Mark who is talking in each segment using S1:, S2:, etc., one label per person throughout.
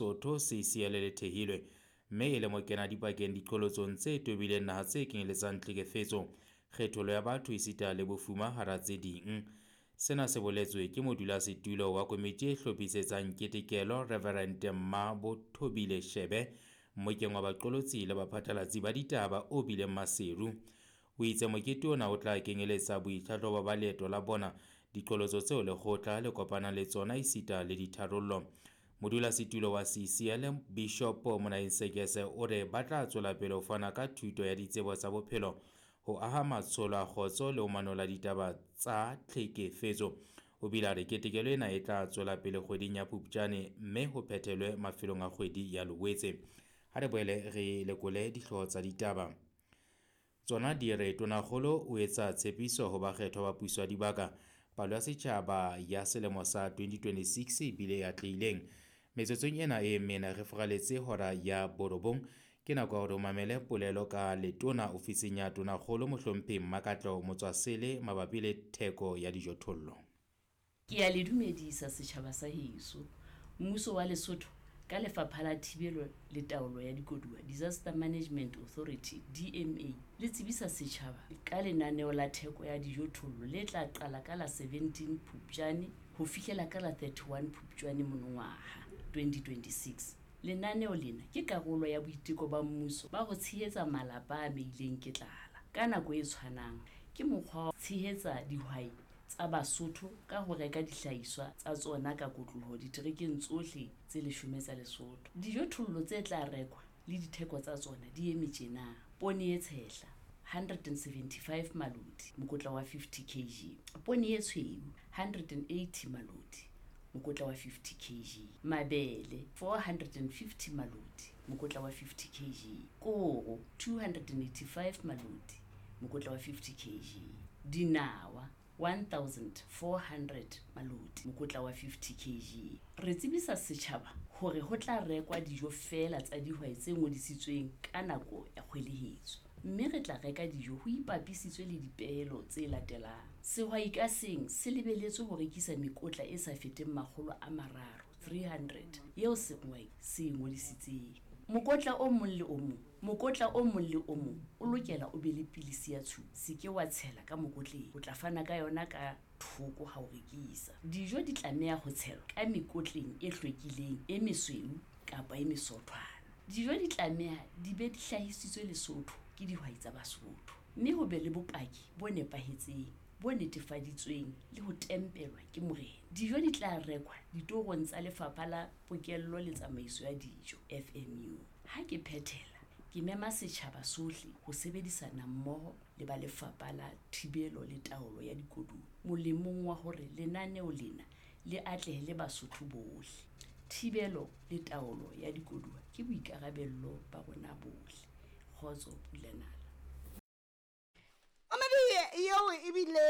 S1: Lesotho CCL le thehilwe mme e le mokenadipakeng diqholotsong tse tobileng naha tse kenyeletsang tlhekefetso, kgethollo ya batho esita le bofuma hara tse ding. Sena se boletswe ke modulasetulo wa komiti e hlophisetsang ketekelo Reverend Mmabothobile Shebe mmokeng wa baqolotsi le baphatlalatsi ba ditaba o bileng Maseru. O itse mokete ona o tla kenyeletsa boitlhahlobo ba leeto la bona, diqholotso tseo lekgotla le kopanang le tsona esita le ditharollo. Modulasetulo wa CCL Bishop Monaeng Sekese o re ba tla tswela pele ho fana ka thuto ya ditsebo tsa bophelo ho aha matsholo a kgotso le ho manolla ditaba tsa tlhekefetso. O bile a re ketekelo ena e tla tswela pele kgweding ya Phupjane mme ho phethelwe mafelong a kgwedi ya Loetse. Ha re boele re lekole dihlooho tsa ditaba. Tsona di re Tonakgolo o etsa tshepiso ho bakgethwa ba puso ya dibaka. Palo ya setjhaba ya selemo sa 2026 e bile e atlehileng. Metsotsong ena e mene re furaletse hora ya borobong. Ke nako ya hore o mamele polelo ka letona ofising ya Tonakgolo Mohlomphehi Mmakatleho Motswasele mabapi le theko ya dijothollo.
S2: Ke a le dumedisa setjhaba sa heso. Mmuso wa Lesotho ka Lefapha la Thibelo le Taolo ya Dikoduwa, Disaster Management Authority, DMA, le tsebisa setjhaba ka lenaneo la theko ya dijothollo le tla qala ka la 17 Phupjane ho fihlela ka la 31 Phupjane monongwaha, 2026. Lenaneo lena ke karolo ya boiteko ba mmuso ba ho tshehetsa malapa a amehileng ke tlala. Ka nako e tshwanang, ke mokgwa wa ho tshehetsa dihwai tsa Basotho ka ho reka dihlahiswa tsa tsona ka kotloloho diterekeng tsohle tse leshome tsa Lesotho. Dijothollo tse tla rekwa le ditheko tsa tsona di eme tjena, Poone e tshehla, 175 maloti, mokotla wa 50 kg, poone e tshweu, 180 maloti, mokotla wa 50 kg, mabele, 450 maloti, mokotla wa 50 kg, koro, 285 maloti, mokotla wa 50 kg, dinawa, 1400 maloti, mokotla wa 50 kg. Re tsebisa setjhaba hore ho tla rekwa dijo feela tsa dihwai tse ngodisitsweng ka nako ya kgwelehetso, mme re tla reka dijo ho ipapisitswe le dipehelo tse latelang. Sehwai ka seng se lebeletswe ho rekisa mekotla e sa feteng 300, 300, eo sehwai se e ngodisitseng. Mokotla o mong le o mong Mokotla o mong le o mong o lokela o be le pilisi ya tshupa. Se ke wa tshela ka mokotleng, o tla fana ka yona ka thoko ha o rekisa. Dijo di tlameha ho tshelwa ka mekotleng e hlwekileng, e mesweu kapa e mesothwana. Dijo di tlameha di be di hlahisitswe Lesotho ke dihwai tsa Basotho, mme ho be le bopaki bo nepahetseng, bo netefaditsweng le ho tempelwa ke morena. Dijo di tla rekwa ditorong tsa Lefapha la Pokello le Tsamaiso ya Dijo, FMU. Ha ke phethela, ke mema setjhaba sohle ho sebedisana mmoho le ba Lefapha la Thibelo le Taolo ya Dikoduwa molemong wa hore lenaneo lena le atlehele Basotho bohle. Thibelo le taolo ya dikoduwa ke boikarabello ba rona bohle. Kgotso, Pula Nala.
S3: Mamedi yeo ebile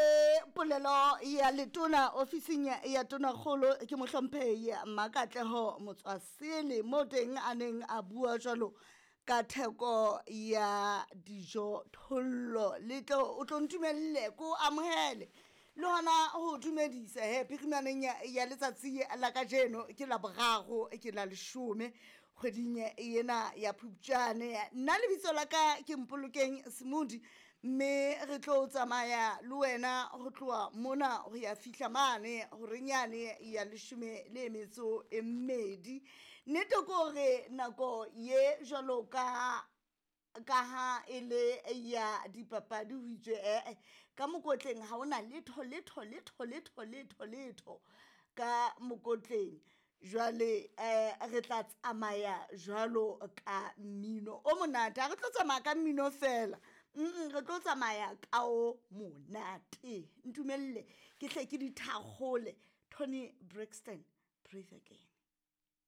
S3: polelo ya letona ofising ya tonakgolo ke mohlomphehi Makatleho Motswasele mo teng a neng a bua jwalo ka theko ya dijo thollo le tlo o tlo ntumelle ko amohele le hona ho dumedisa he phirimaneng ya letsatsi la kajeno ke la boraro ke la leshome kgweding ena ya phupjane nna lebitso la ka ke mpolokeng semodi mme re tlo tsamaya le wena go tloa mona go ya fihla mane gorenyane ya leshome le metso e mmedi nnete ke gore nako ye jalo ka ka ha e le ya dipapadi ho itswe ee ka mokotleng ga ona letho letho letho letho letho letho ka mokotleng jwale um re tla tsamaya jwalo ka mmino o monate ga re tlo tsamaya ka mmino fela mm re tlo tsamaya ka o monate ntumelele ke hle ke dithakgole Tony Braxton, Breathe Again.